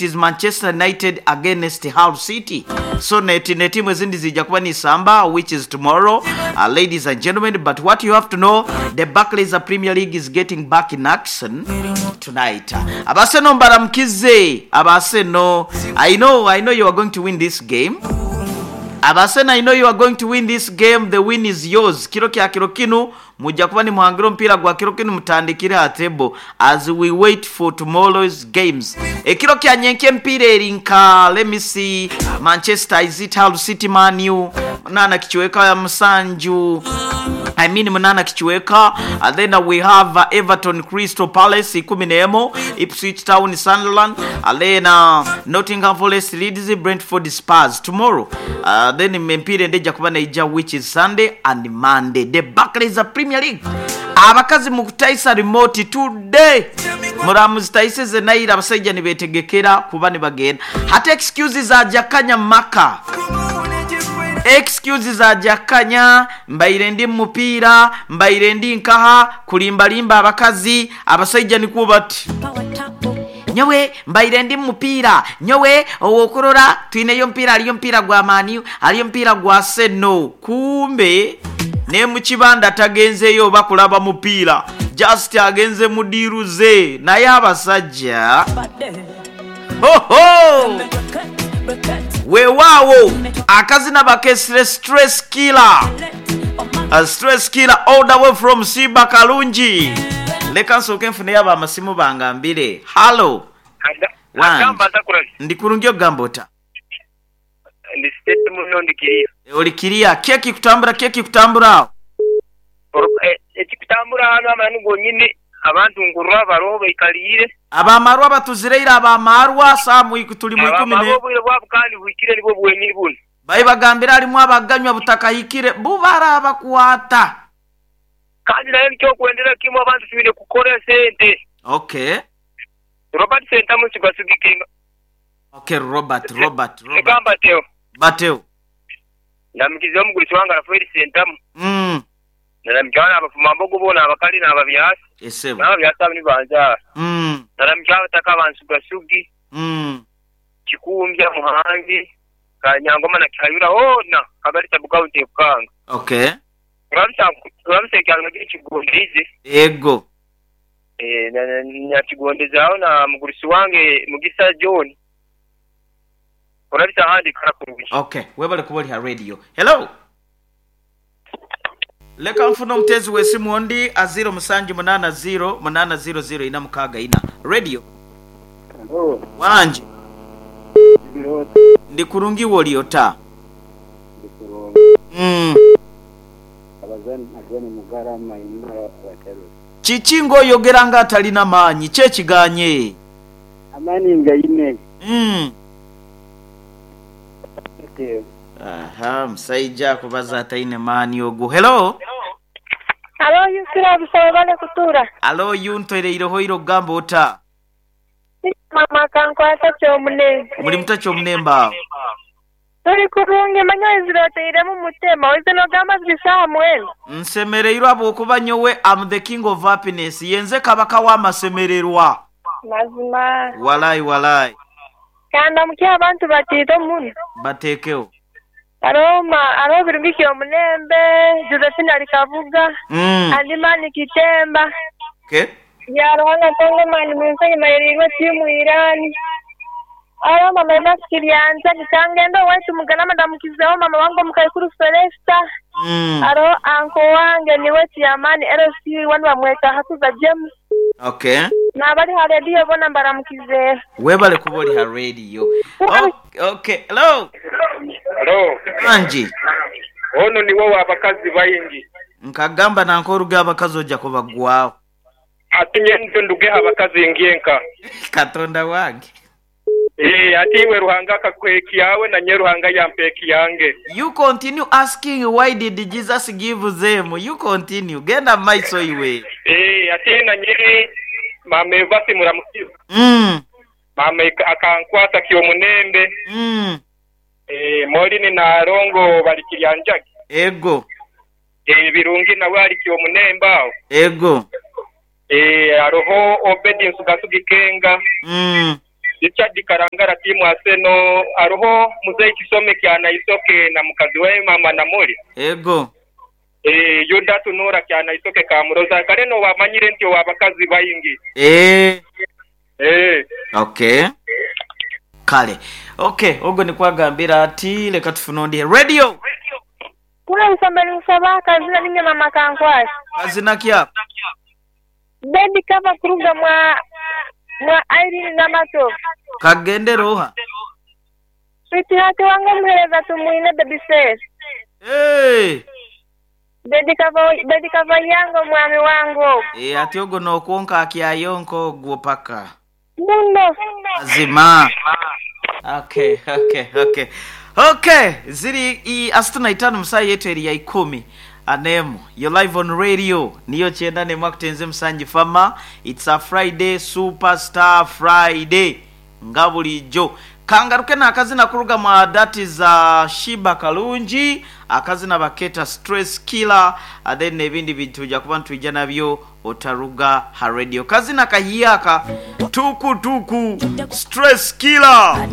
It is Manchester United against Hull City. So ne tiimu ezindi ziija kuba nisamba which is tomorrow ladies and gentlemen but what you have to know the Barclays Premier League is getting back in action tonight. Abaseno mbaramukize abaseno I know I know you are going to win this game. Abaseno I know you are going to win this game the win is yours. Kiro kya kiro kinu Muja kuba ni muhangira omupiira gwa kiro kinu mutandikire aha table as we wait for tomorrow's games. Ekiro kya nyenkya emipiira eri nka let me see Manchester is it Hull City Man U munaana kicweka musanju I mean munaana kicweka and then we have Everton Crystal Palace ikumi n'emo Ipswich Town Sunderland and then Nottingham Forest Leeds Brentford Spurs tomorrow Then emipiira endi eja kuba neija which is Sunday and Monday. The Barclays Premier League. Abakazi mukutaisa remote today. Muramuzitaisize naira abasaija nibetegekera kuba nibagenda. Hati excuse za jakanya maka. Excuse za jakanya mbaire ndi mumupiira, mbaire ndi nkaha, kulimbalimba abakazi, abasaija nikwo bati. Nyowe mbaire ndi mu mupiira. Nyowe ow'okurora twineyo omupiira, haliyo omupiira gwa Man U, haliyo omupiira gwa Arsenal. Kumbe ne mu kibanda tagenzeeyo oba kulaba mupiira, just agenze mu diiru ze. Naye abasajja! Hoho! Weewaawo akazina bakesire Stress Killer. Stress Killer all the way from Siba Kalungi. Leka nsooke nfuneyo abamasimu bangambire. Hallo. Wangi. Ndi kurungi ogamba ota? Ndi steady muno ndi kiriya. Oli kiriya. Ki ekikutambura ki ekikutambura agho? Ekikutambura ghano amananu gonyini abantu nkurwa baroho baikaliire. Abamarwa batuzire ira abamarwa saha tuli mu ikumi Abamarwa ne. obwire bwabu kandi buhikire nibwo bwenyini bunu. Baibagambira halimu abaganywa butakahikire bu barabakwata. Kandi naye nikyokwendera kimwe abantu twine kukora esente. Okay. Robert Sentamu Nsugasugike. Okay Robert, Robert, Robert. Leka mbateho. Bateho. Ndamukiriza omugurusi wange Rafaeli Sentamu. Mm. Naramukya n'abafumambogo boona abakali n'ababyasi. Esebo. N'ababyasi abo ni banzaara. Mm. Naramukya abataka aba Nsugasugi. Mm. Kikumbya, Muhangi, Kanyangoma na Kihayura hoona Kagali Sub-County e Bukanga. Okay. Turamusa ekyalo nakyo kigondeize. Ego. Eh, nakigondezaaho na mugurusi wange Mugisa John. Orabisa ahandi ikara kurungi. Okay, webale kuba oli ha radio. Hello. Leka nfune omuteezi w'esimu ondi a ziiro musanju munaana ziiro munaana ziiro ziiro ina mukaaga ina. Radio. Hello. Wangi. Ndi ota? Ndi kurungi iwe oli ota? Ndi kurungi. Mm. Abazani Ageni Mugara Maina Abaterule. Kiki nga oyogera nga atalina maanyi? Ki ekiganye? Amaani ngaine. Mm. Airtel. Aha, omusaija akubaza ataine maani ogwo. Hello. Alo Yusura busa webale kutuura. Alo Yuntoireireho ira okugamba ota? Mama akankwasa Kyomunembe. Muli muta Kyomunembe agho? Tuli kurungi manya oizire otairemu mutema oize nogamba ziri saawa mwenda. Nsemereirwe habwokuba nyowe am the king of happiness, yenze kabaka w'amasemererwa. Mazima. Walai walai. Kandamukye abantu batiito muno. Bateekegho. Haroho ma haroho Birungi Kyomunembe, Josephine ali Kabuga, Mm. Andi Mani Kitemba, Okay. Byaruhanga Ntongo Mani Munsi ayemereirwe tiimu Iran. Haroho Mama Emasi Kiryanza, Kikangendo owaitu Mugalama ndamukizeho mama wange omukaikuru Felesta. Mm. Haroho anko wange niwe Chairman LC one bamweta Hakuza James. Okay. N'abali ha rediyo boona mbaramukizeho. Webale kuba oli ha radio. Okay. Hello. Halo. Wangi. Ono niwe owa bakazi baingi. Nkagamba nanka oruge abakazi oja kubagwagho. Ati nyenze ndugegho abakazi ngyenka. Katonda wange. Eeh ati iwe Ruhanga akakuha ekyawe nanye Ruhanga yampa ekyange. You continue asking why did Jesus give them, you continue, genda mu maiso iwe. Eeh ati nanye maama Eva simuramukiza. Mm. Maama akankwasa Kyomunembe. Mm. Eeh Morini na Rongo bali Kiryanjagi. Ego. Eeh Birungi nawe ali Kyomunembe agho. Ego. Eeh haroho Obedi Nsugasugi Kenga. Mm. Richard Karangara tiimu Arsenal, Aroho Muzei Kisome Kyanaisoke na mukazi we Maama Namuli. Ego. Eeh Yuda Tunuura Kyanaisoke Kamuroza. Kale no wamanyire nti owa bakazi baingi. Eeh. Eeh. Okay. Kale. Okay, ogwo nikwo agambire ati leka tufune ondi. Radio! Kule isomero nsaba akazina ninye mama Kankwasi. Kazina ki ako? Baby kava kuruga mwa mwa Irene Namatovu. Kagendere oha? Sweetheart wange omuhereza Tumwine baby face. Eeh! Baby kava baby kava yange omwami wange ogwo. Eeh ati ogwo nokwonka akyayonka ogwo paka. Muno. Mazima. Okay, okay, okay. Okay, ziri i asatu na itano musaha yetu eri ya ikumi anemu. You're live on radio. Niyo kyenda nemu akutenze Musangi Farmer. It's a Friday, Superstar Friday. Nga bulijo. Kangaruke n'akazina kuruga mwa that is Sheebah Kalungi. Akazina baketa Stress Killer. Then n'ebindi bintu tuja kuba nitwija nabyo otaruga ha radio. Kazina kahiaka. Tuku tuku. Stress Killer.